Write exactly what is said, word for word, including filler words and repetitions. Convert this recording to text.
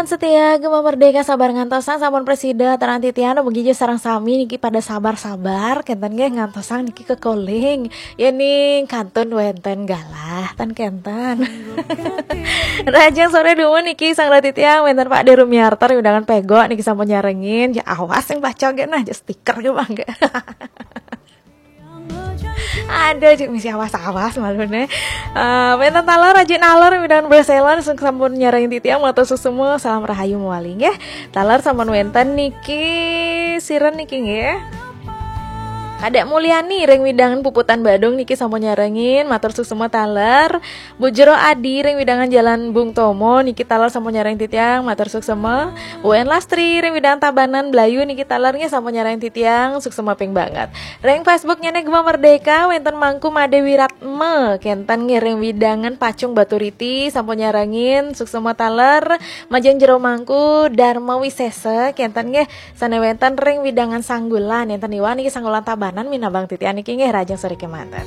Setia Gema Merdeka, sabar ngantosang sampun presida, terang titian, mugi ja sareng sami niki pada sabar-sabar, kenten nggih ngantosang niki kekoling. Yening kantun wenten galah, ten kenten. Rahajeng sore dumun niki sang titiang, wenten Pak De Rumiarto, undangan pego niki sampun nyarengin, ya awas yang baca ge nah, ya stiker ge bangga. Ada cek misi awas-awas malu nih. Uh, wenten taler, rajin aler, undangan Barcelona, sing sampun nyarengin titiang, matur suksma, salam rahayu mawali nggih. Taler sampun wenten niki, siren niki nggih. Kadek Mulyani ring widangan Puputan Badung niki sampun nyarengin, matur suksma taler. Bu Jero Adi ring widangan Jalan Bung Tomo niki taler sampun nyarengin titiang, matur suksma. U N Lastri ring widangan Tabanan Blayu niki taler nggih sampun nyarengin titiang, suksma ping banget. Ring Facebook nyene Gema Merdeka, wenten Mangku Made Wiratma, kenten nggih ring widangan Pacung Baturiti sampun nyarengin, suksma taler. Majeng Jero Mangku Dharma Wisesa, kenten nggih sane wenten ring widangan Sanggulan, enten iwan niki Sanggulan Tabanan minabang titian niki nggih, rahajeng sore kemanten.